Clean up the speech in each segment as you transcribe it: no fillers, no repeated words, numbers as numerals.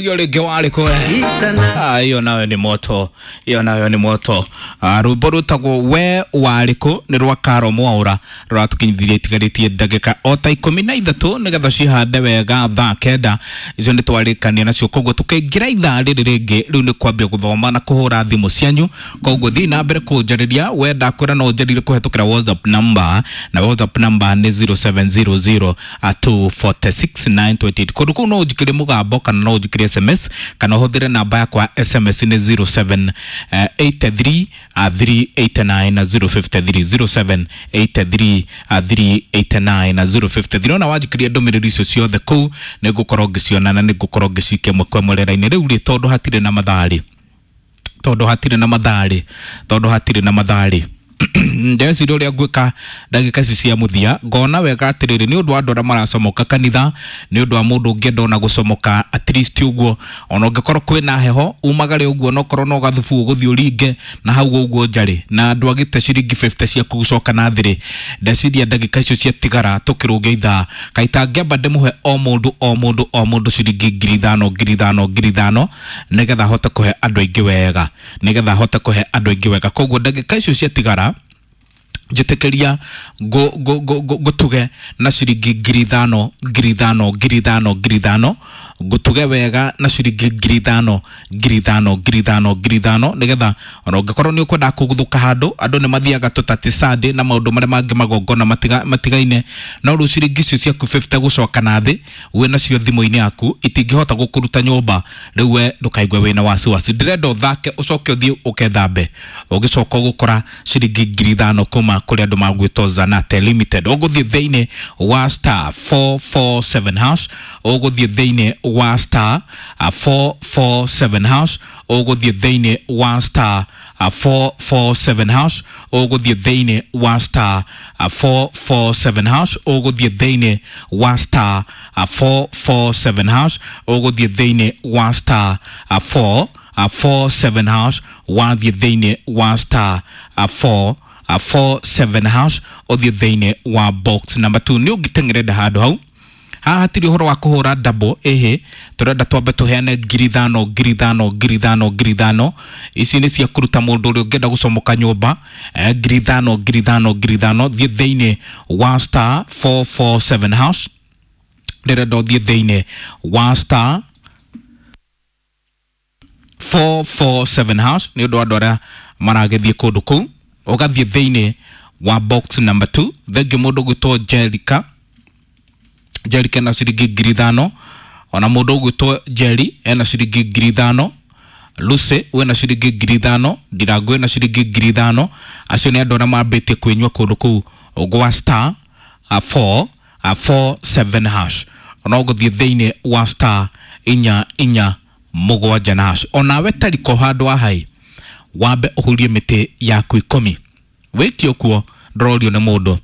Hiyo rĩngĩ warĩ kũ? Hiyo nayo nĩ moto, hiyo nayo nĩ moto. Rwĩmbo rwĩtagwo we warĩ kũ nĩ rwa Karo Mwaũra, rũratũkinyithirie itigarĩtie ndagĩka o ta 13 nĩgetha cihande wega thaa 9. Icio nĩ twarĩkania nacio, koguo tũkĩingĩra ithaa rĩrĩ rĩngĩ rĩu nĩ kwambia gũthoma na kũhũra thimũ cianyu. Koguo thiĩ na mbere kũnjarĩria, wenda kwĩra no ũnjarĩrie kũhetũkĩra WhatsApp number, na WhatsApp number nĩ 0700 246 928. Kũndũ kũu no ũnjikĩrie mũgambo kana no ũnjikĩrie SMS, kana ũhũthĩre namba yakwa SMS nĩ 0783 389 053, 0783 389 053. Ona wanjikĩria ndũmĩrĩri icio ciothe kũu nĩ ngũkorwo ngĩciona na nĩ ngũkorwo ngĩcikia ĩmwe kwa ĩmwe rĩera-inĩ rĩu rĩ, tondũ hatirĩ na mathaa rĩ, tondũ hatirĩ na mathaa rĩ, tondũ hatirĩ na mathaa rĩ, ndeciria ũrĩa ngwĩka ndagĩka ici cia mũthia. Ngona wega atĩrĩrĩ, nĩ ũndũ wa andũ arĩa maracomoka kanitha, nĩ ũndũ wa mũndũ ũngĩenda ona gũcomoka at least ũguo, ona ũngĩkorwo kwĩna heho umagare ũguo, no korwo no gathubu ũgũthiĩ ũringe na hau ũguo njarĩ na andũ agĩte ciringi 50 ciaku gũcoka na thĩrĩ. Ndeciria ndagĩka icio ciatigara tũkĩrũnge ithaa kaita ngĩamba ndĩmũhe o mũndũ o mũndũ o mũndũ ciringi 5,000 5,000 5,000, nĩgetha hote kũhe andũ aingĩ wega, nĩgetha hote kũhe andũ aingĩ wega. Koguo ndagĩka icio ciatigara njĩtĩkĩria ngũtuge na ciringi 5,000 5,000 5,000 5,000, ngũtuge wega na ciringi 5,000 5,000 5,000 5,000, nĩgetha ona ũngĩkorwo nĩ ũkwenda kũguthũka handũ, andũ nĩ mathiaga tũtati Sunday na maũndũ marĩa mangĩ magongona matigaine, no rĩu ciringi icio ciaku 50 gũcoka na thĩ wĩ nacio thimũ-inĩ yaku itingĩhota gũkũruta nyũmba. Rĩu we ndũkaigue wĩna wasiwasi, ndĩrenda ũthake ũcoke ũthiĩ ũkethambe, ũgĩcoka ũgũkora ciringi 5,000 kuma kũrĩ andũ magwĩtwo Zanate Limited. Ũgũthiĩ thĩinĩ wa star 447 hash, ũgũthiĩ thĩinĩ wa star 447 hash, ũgũthiĩ thĩinĩ wa star 447 hash, ũgũthiĩ thĩinĩ wa star 447 hash, ũgũthiĩ thĩinĩ wa star 447 hash, ũgũthiĩ thĩinĩ wa star 4 47 hash, wathiĩ thĩinĩ wa star 4 47 hash, ũthiĩ thĩinĩ wa box number 2. Nĩ ũngĩteng'erenda handũ hau haha hatirĩ ũhoro wa kũhũra double, ĩhĩ, tũrenda twambe tũheane 5,000 5,000 5,000 5,000. Ici nĩ cia kũruta mũndũ ũrĩa ũngĩenda gũcomoka nyũmba, 5,000 5,000 5,000. Thiĩ thĩinĩ wa star 447 hash, ndĩrenda ũthiĩ thĩinĩ wa star 447 hash nĩ ũndũ wa andũ arĩa maragĩthiĩ kũndũ kũu, ũgathiĩ thĩinĩ wa box number 2. Thengiũ mũndũ ũgwĩtwo Jerica, Jerica ena ciringi 5,000, ona mũndũ ũgwĩtwo Jerry ena ciringi 5,000, Lucy wĩna ciringi 5,000, Ndirango ena ciringi 5,000. Acio nĩ andũ arĩa mambĩtie kwĩnyua kũndũ kũu gwa star 4 47 hash. Ona ũgũthiĩ thĩinĩ wa star 447 na hash. Onawe tariko handũ wa hai wambe ũhurie mĩtĩ yaku 10, wĩke ũkuo ndũrorio nĩ mũndũ.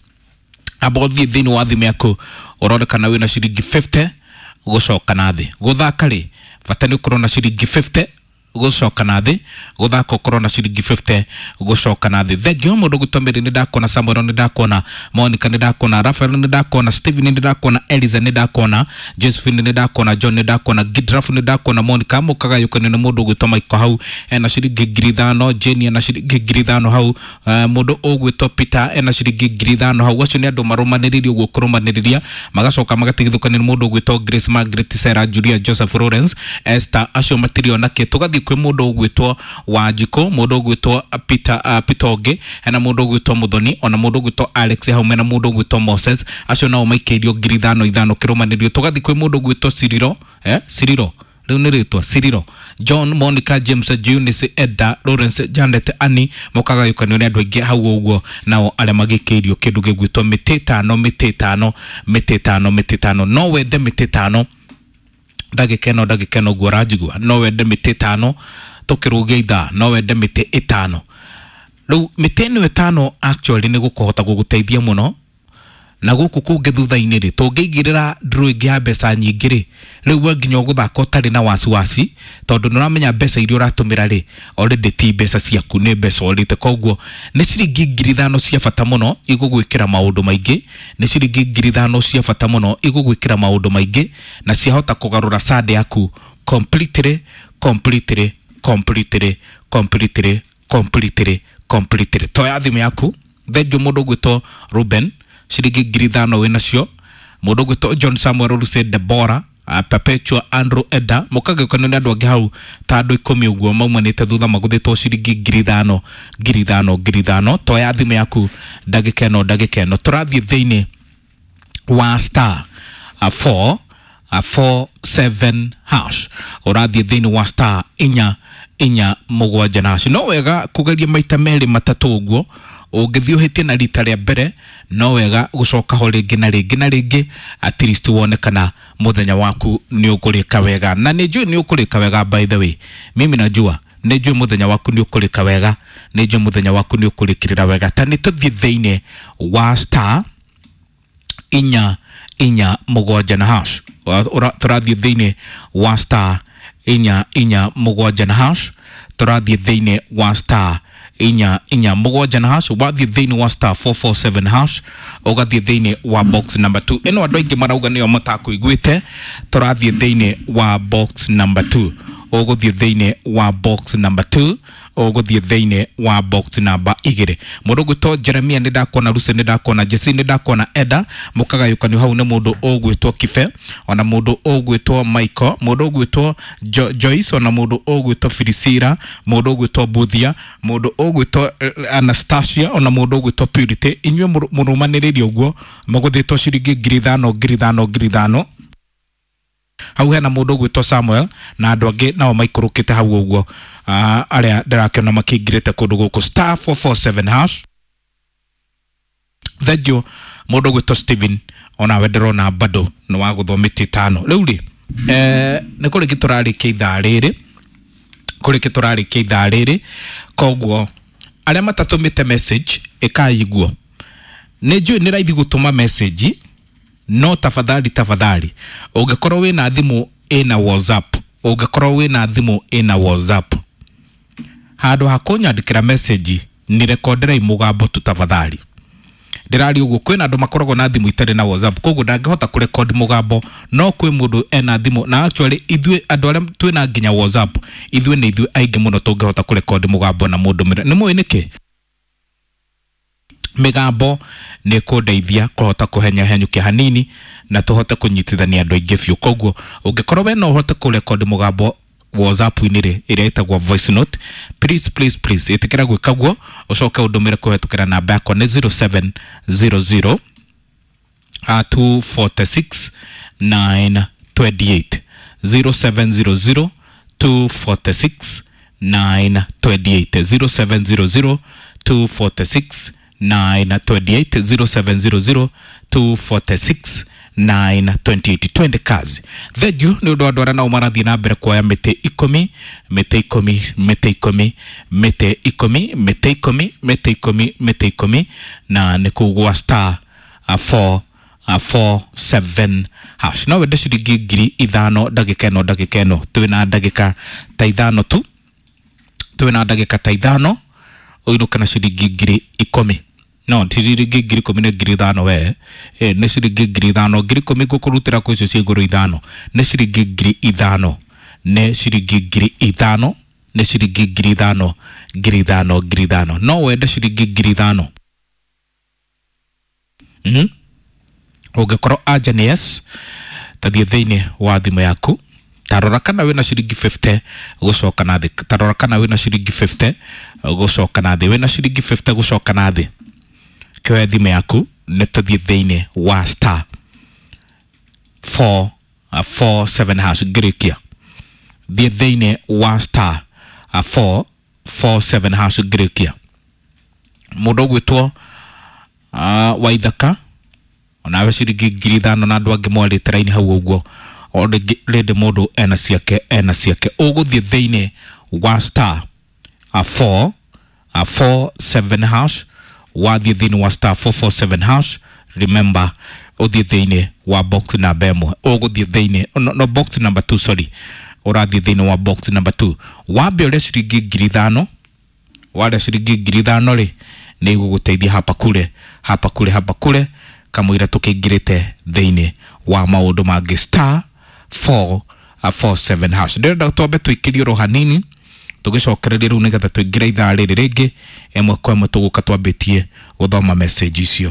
Amba ũthiĩ thĩinĩ wa thimũ yaku ũrore kana wĩna ciringi 50 gũcoka na thĩ. Gũthaka rĩ, bata nĩ ũkorwo na ciringi 50 gũcoka na thĩ, gũthaka ũkorwo na ciringi 50 gũcoka na thĩ. Thengio mũndũ gwĩtwo Mary nĩ ndakuona, Samuel nĩ ndakuona, Monica nĩ ndakuona, Rafael nĩ ndakuona, Steven nĩ ndakuona, Eliza nĩ ndakuona, Josephine nĩ ndakuona, John nĩ ndakuona, Gidrafu nĩ ndakuona, Monica mũkagayũkanio nĩ mũndũ ũgwĩtwo Michael hau ena ciringi 5,000, Jane ena ciringi 5,000 hau, mũndũ ũgwĩtwo Peter ena ciringi 5,000 hau. Acio nĩ andũ marũmanĩrĩirie ũguo kũrũmanĩrĩria, magacoka magatigithũkanio nĩ mũndũ ũgwĩtwo Grace, Margaret, Sarah, Julia, Joseph, Lawrence, Esther, acio matirĩ ona kĩ. Tũgathiĩ kwĩ mũndũ ũgwĩtwo Wanjikũ, mũndũ ũgwĩtwo Peter, Peter ũngĩ hena mũndũ ũgwĩtwo Muthoni, ona mũndũ ũgwĩtwo Alex hau mena mũndũ ũgwĩtwo Moses, acio nao maikĩirio 5,000 5,000 kĩrũmanĩrĩrio. Tũgathiĩ kwĩ mũndũ ũgwĩtwo Ciriro, Ciriro rĩu nĩ rĩtwa Ciriro, John, Monica, James, Eunice, Edda, Lawrence, Janet, Annie, mũkagayũkanio nĩ andũ aingĩ hau ũguo, nao arĩa magĩkĩirio kĩndũ gĩgwĩtwo mĩtĩ ĩtano mĩtĩ ĩtano mĩtĩ ĩtano mĩtĩ ĩtano. No wende mĩtĩ ĩtano ndagĩka ĩno, ndagĩka ĩno ũguo ũranjigua, no wende mĩtĩ ĩtano tũkĩrũgia ithaa, no wende mĩtĩ ĩtano rĩu. Mĩtĩ ĩno ĩtano actually nĩ gũkũhota gũgũteithia mũno na gũkũ kũngĩ thutha-inĩ rĩ, tũngĩigĩrĩra draw ĩngĩ ya mbeca nyingĩ rĩ, rĩu we nginya ũgũthaka ũtarĩ na wasiwasi, tondũ nĩ ũramenya mbeca iria ũratũmĩra rĩ already ti mbeca ciaku, nĩ mbeca ũrĩte. Koguo nĩ ciringi 5,000 cia bata mũno igũgwĩkĩra maũndũ maingĩ, nĩ ciringi 5,000 cia bata mũno igũgwĩkĩra maũndũ maingĩ na ciahota kũgarũra sande yaku. completely completely completely completely completely completely. Toya thimũ yaku. Thengiũ mũndũ ũgwĩtwo Ruben, ciringi 5,000 wĩ nacio. Mũndũ ũgwĩtwo John Samuel Ruse, Debora, Perpetua, Andrew, Eda, mũkagĩũkanio nĩ andũ angĩ hau ta andũ 10 ũguo maumanĩte thutha magũthĩtwo ciringi 5,000 5,000 5,000. Toya thimũ yaku ndagĩka ĩno, ndagĩka ĩno tũrathiĩ thĩinĩ wa star 4 4 7 hash. Ũrathiĩ thĩinĩ wa star 4 4 7 na hash. No wega kũgeria maita merĩ matatũ ũguo. Ũngĩthiĩ ũhĩtie na rita rĩa mbere, no wega gũcoka ho rĩngĩ na rĩngĩ na rĩngĩ, at least wone kana mũthenya waku nĩ ũkũrĩka wega. Na nĩ njũĩ nĩ ũkũrĩka wega. By the way, mimi najua, nĩ njũĩ mũthenya waku nĩ ũkũrĩka wega, nĩ njũĩ mũthenya waku nĩ ũkũrĩkĩrĩra wega. Ta nĩ tũthiĩ thĩinĩ wa star 4 4 7 na hash. Tũrathiĩ thĩinĩ wa star 4 4 7 na hash. Tũrathiĩ thĩinĩ wa star 4 4 7 na hash. Wathiĩ thĩinĩ wa star 447 hash, ũgathiĩ thĩinĩ wa box number 2. Ĩno andũ aingĩ marauga nĩyo matakũiguĩte. Tũrathiĩ thĩinĩ wa box number 2. Ũgũthiĩ thĩinĩ wa box number 2, ũgũthiĩ thĩinĩ wa box number 2. Mũndũ ũgwĩtwo Jeremia nĩ ndakuona, Lucy nĩ ndakuona, Jesse nĩ ndakuona, Eda mũkagayũkanio hau nĩ mũndũ ũgwĩtwo Kibe, ona mũndũ ũgwĩtwo Michael, mũndũ ũgwĩtwo Joyce, ona mũndũ ũgwĩtwo Filisira, mũndũ ũgwĩtwo Buthia, mũndũ ũgwĩtwo Anastasia, ona mũndũ ũgwĩtwo Purity. Inyuĩ mũrũmanĩrĩrie ũguo mũgũthĩtwo ciringi 5,000 5,000 5,000. Hau hena mũndũ ũgwĩtwo Samuel na andũ angĩ nao maikũrũkĩte hau ũguo, arĩa ndĩrakĩona makĩingĩrĩte kũndũ gũkũ star 447 hash. Thengiũ mũndũ ũgwĩtwo Steven, onawe ndĩrona bado nĩ wa gũthwo mĩtĩ 5. Rĩu rĩ, nĩ kũrĩki tũrarĩkia ithaa rĩrĩ, kũrĩki tũrarĩkia ithaa rĩrĩ. Koguo arĩa matatũmĩte message, ĩkai guo. Nĩ njũĩ nĩ raithi gũtũma message, no tafadhali tafadhali, ũngĩkorwo wĩna thimũ ĩna WhatsApp, ũngĩkorwo wĩna thimũ ĩna WhatsApp, handũ ha kũnyandĩkĩra message, ni rekonderai mũgambo tu tafadhali. Ndĩraria ũguo, kwĩna andũ makoragwo na thimũ itarĩ na WhatsApp, koguo ndangĩhota kũrekodi mũgambo. No kwĩ mũndũ ena thimũ, na actually ithuĩ andũ arĩa twĩna nginya WhatsApp, ithuĩ nĩ ithuĩ aingĩ mũno tũngĩhota kũrekodi mũgambo na mũndũ mĩre. Nĩ mũĩ nĩkĩ? Mĩgambo nĩ kũndeithia kũhota kũhenya henyũkia hanini na tũhote kũnyitithania andũ aingĩ biũ. Koguo ũngĩkorwo we no ũhote kũrekodi mũgambo WhatsApp-inĩ rĩ, ĩrĩa ĩtagwo voice note, please please please ĩtĩkĩra gwĩka guo, ũcoke ũndũmĩre kũhetũkĩra namba yakwa nĩ 0700 246 928, 0700 246 928, 0700 246 928, 0700 246 928. Twende kazi. Thengiũ nĩ ũndũ wa andũ arĩa nao marathiĩ na mbere kuoya mĩtĩ 10, mĩtĩ 10, mĩtĩ 10, mĩtĩ 10, mĩtĩ 10, mĩtĩ 10, mĩtĩ 10, na nĩ kũu gwa star 4 4 7 hash. No wende ciringi 5,000 ndagĩka ĩno, ndagĩka ĩno twĩna ndagĩka ta 5 tu, twĩna ndagĩka ta 5 ũinũke na ciringi 10,000. No ti ciringi 10,000, nĩ 5,000 we. Nĩ ciringi 5,000. 10,000 ngũkũrutĩra kwĩ icio cia igũrũ 5. Nĩ ciringi 5,000, nĩ ciringi 5,000, nĩ ciringi 5,000, 5,000, 5,000. No wende ciringi 5,000? Ũngĩkorwo anja nĩ yes, tathiĩ thĩinĩ wa thimũ yaku, tarora kana wĩna ciringi 50 gũcoka na thĩ. Tarora kana wĩna ciringi 50 gũcoka na thĩ. Wĩna ciringi 50 gũcoka na thĩ, kĩoya thimũ yaku, nĩ tũthiĩ thĩinĩ wa star 4 4 7 hash. Ngĩrĩkia, thiĩ thĩinĩ wa star 4 4 7 hash. Ngĩrĩkia, mũndũ ũgwĩtwo Waithaka, onawe ciringi 5,000, na andũ angĩ mwarĩte raini hau ũguo. O rĩndĩ mũndũ ena ciake, ena ciake. Ũgũthiĩ thĩinĩ wa star 4 4 7 hash. Wathiĩ thĩinĩ wa star 447 hash, remember ũthiĩ thĩinĩ wa box number 1. Ũgũthiĩ thĩinĩ no, no, box number 2, sorry. Ũrathiĩ thĩinĩ wa box number 2, wambe ũrĩa ciringi 5,000. Warĩa ciringi 5,000 rĩ, nĩ igũgũteithia hapa kule, hapa kule, hapa kule, kamũira tũkĩingĩrĩte thĩinĩ wa maũndũ mangĩ. Star 4 47 hash. Ndĩrenda twambe tũikĩrie oro hanini tũgĩcokererie rĩu nĩgetha tũingĩre ithaa rĩrĩ rĩngĩ ĩmwe kwa ĩmwe, tũgũka twambĩtie gũthoma message icio.